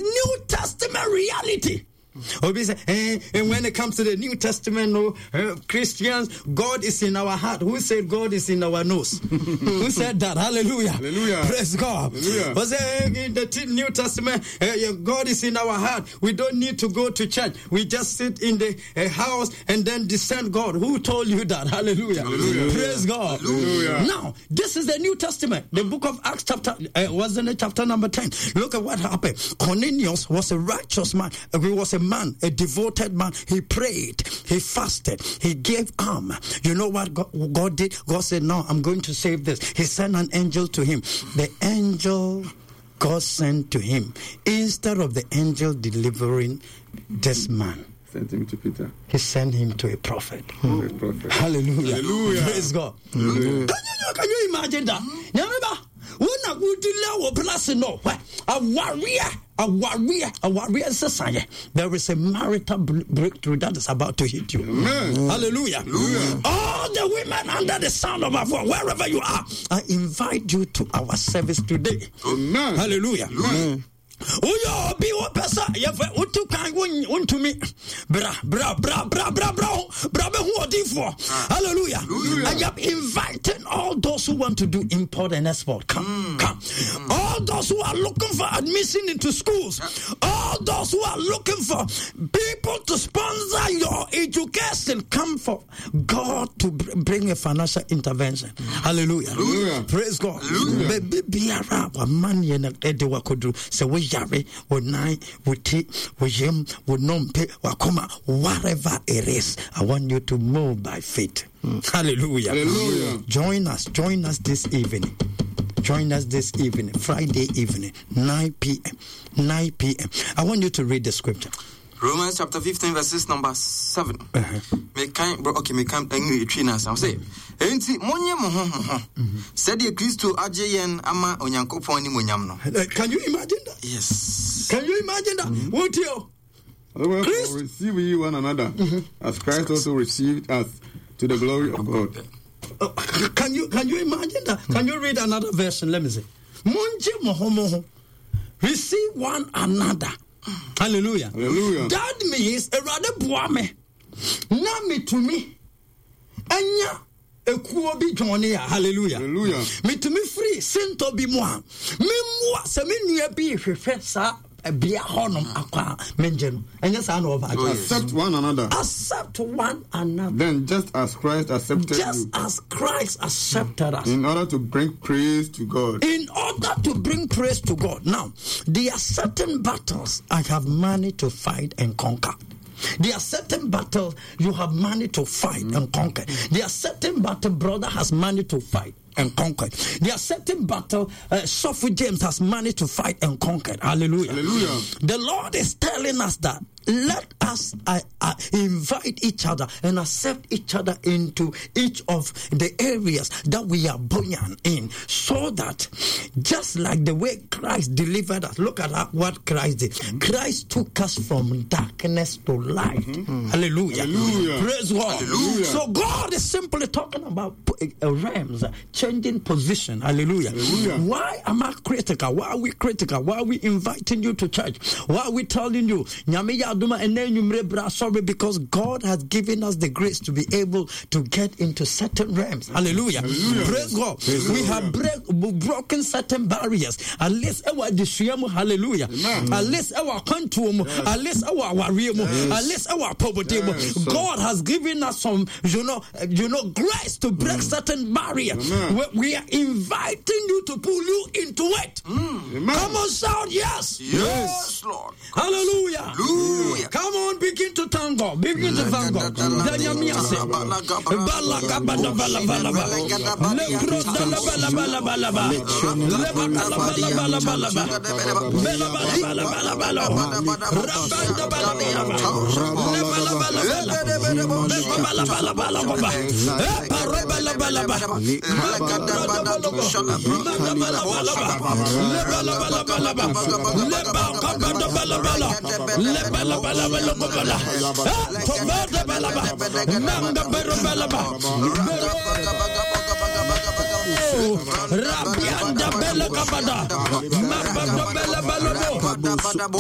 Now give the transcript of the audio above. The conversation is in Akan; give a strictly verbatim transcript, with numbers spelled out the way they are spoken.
New Testament reality. Obi say, eh, and when it comes to the New Testament, no, eh, Christians, God is in our heart. Who said God is in our nose? Who said that? Hallelujah. Hallelujah. Praise God. Hallelujah. Was eh, in the T- New Testament, eh, yeah, God is in our heart. We don't need to go to church. We just sit in the eh, house and then descend God. Who told you that? Hallelujah. Hallelujah. Praise God. Hallelujah. Now, this is the New Testament. The book of Acts chapter, uh, wasn't it chapter number ten? Look at what happened. Cornelius was a righteous man. Uh, He was a man, a devoted man. He prayed, he fasted, he gave alms. You know what God, God did? God said, no, I'm going to save this. He sent an angel to him. The angel God sent to him, instead of the angel delivering this man, Sent him to Peter. he sent him to a prophet. The prophet. Hallelujah. Hallelujah. Praise God. Can you, can you imagine that? Nyameba, wona wodila wo blessing no. A warrior, a warrior, a warrior sesanye. There is a marital breakthrough that is about to hit you. Amen. Hallelujah. Hallelujah. All the women under the sound of my voice, wherever you are, I invite you to our service today. Amen. Hallelujah. Amen. Woyɛ obi wopɛ sɛ yɛfɛ wotu kwan won- wontumi bra bra bra bra bra bra ho bra bɛhu ɔdifoɔ. Hallelujah. I am inviting all those who want to do import and export, come, come. All those who are looking for admission into schools, all those who are looking for people to sponsor your education, come for God to br- bring a financial intervention. Hallelujah. Hallelujah. Praise God. Baabi biara a wamanneɛ no ɛde wakɔduru sɛ woyare wo nan, wo ti, wo yam, wo nnompe, wakoma, whatever it is, I want you to move by faith. Hallelujah. Hallelujah. Join us, join us this evening. Join us this evening, Friday evening, nine p m, nine p m. I want you to read the scripture. Romans chapter fifteen, verses number seven. Uh-huh. Mekan bro, okay, mekan enyu etwi na asam sɛ enti monyɛ mo ho mo ho sɛdeɛ Kristo agye yɛn ama Onyankopɔn animonyam no. Uh, Can you imagine that? Yes. Can you imagine that? What you? Otherwise, Christ- receive ye one another, as Christ also received us to the glory of God. Uh, can you can you imagine that? Can you read another version? Let me see. Monje moho moho. Receive one another. Hallelujah. Hallelujah. That means Awurade boa me. Na metumi anya ekuo bi dwɔne a, hallelujah. Hallelujah. Metumi firi sintɔ bi mu a memmoa sɛ me nua bi hwehwɛ saa bea hɔnom akɔ a mengye no ɛnyɛ saa na ɔba. Oh, yes. Accept one another. Accept one another. Then, just as Christ accepted Just you, as Christ accepted us. In order to bring praise to God. In order to bring praise to God. Now, there are certain battles I have money to fight and conquer. There are certain battles you have money to fight and conquer. There are certain battle brother has money to fight and conquer. There are certain battle uh, Sophie James has money to fight and conquer. Hallelujah. Hallelujah. The Lord is telling us that let us uh, uh, invite each other and accept each other into each of the areas that we are buoyant in, so that just like the way Christ delivered us, look at that, what Christ did. Christ took us from darkness to light. Hallelujah. Hallelujah. Praise God. Hallelujah. So God is simply talking about uh, realms, changing position. Hallelujah. Hallelujah. Why am I critical? Why are we critical? Why are we inviting you to church? Why are we telling you? Nyame yɛ adom a ɛnɛ anwummerɛ bra asɔre? Because God has given us the grace to be able to get into certain realms. Hallelujah. Hallelujah. Praise God. We have break, broken certain barriers. At least ɛwɔ adesua mu. Hallelujah. Amen. At least ɛwɔ akwantuo mu. At least ɛwɔ awareɛ mu. At least ɛwɔ apɔmuden mu. Yes. God has given us some, you know, you know, grace to break certain barriers. Amen. We, we are inviting you to pull you into it. Amen. Come on, shout yes. Yes, Lord. Hallelujah. Hallelujah. Come on, begin to thank God. Begin to thank God. Danya miase. Balaka bada bala bala ba. Lepro dala bala bala bala ba. Leba bala bala bala bala ba. Bela bala bala bala bala. Rabanda bala bala ba. Leba la bala bala. Beba bala bala bala ba. Epa reba la bala ba. Manda bala bala ba. Leba la bala bala ba. Leba kabada bala bala. Leba la bala bala bala. Eh, tobada bala ba. Nanga bero bala ba. Bero. Rabianda bela kabada. Mabada bela bala bo.